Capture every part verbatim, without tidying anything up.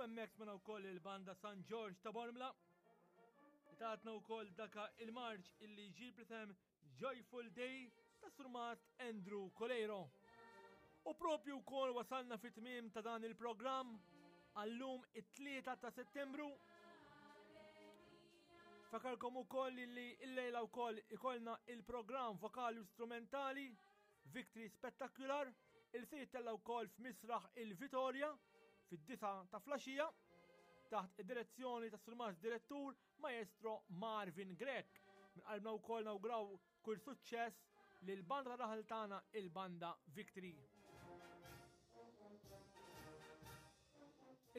Hemmhekk smajna wkoll il-banda San George ta' Bormla li tatna wkoll daka il-marċ illi ġib l-isem Joyful Day ta' Surmast Andrew Coleiro. U propju wkoll wasalna fit-tmiem ta' dan il-programm għallum it-tlieta ta' Settembru. Fakarkom ukoll li l-lejla wkoll ikollna il-programm vokali u strumentali Victory Spectacular il se jittella wkoll f'Misraħ il-Vitorja fid-disgħa ta' filgħaxija taħt id-direzzjoni ta' Surmast Direttur Maestro Marvin Grech. Minn qalbna wkoll nawgraw kull suċċess lil banda ta' raħal tagħna, il-banda Victory.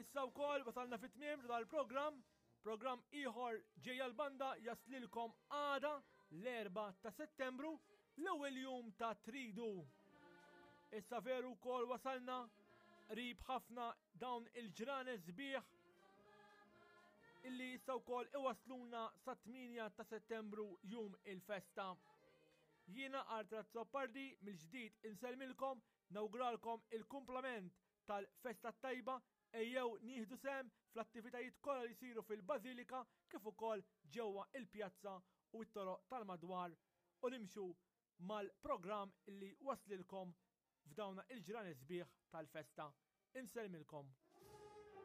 Issa wkoll wasalna fit-tmiem ta' dal-programm, programm ieħor ġejja l-banda jaslilkom għada l-erbgħa ta' Settembru, l-ewwel jum ta' Tridu. Issa veru wkoll wasalna qrib ħafna dawn il-ġranet sbieħ illi issa wkoll iwasluna sa tmienja ta' Settembru, jum il-festa. Jiena Arthur Azzopardi mill-ġdid insellmilkom, nawguralkom il-kumplament tal-festa tajba, ejjew nieħdu sehem fl-attivitajiet kollha li jsiru fil-Bażilika kif ukoll ġewwa il-pjazza u t-toroq tal-madwar u nimxu mal-programm li waslilkom f'dawna il-ġranet sbieħ tal-festa. Insellmilkom.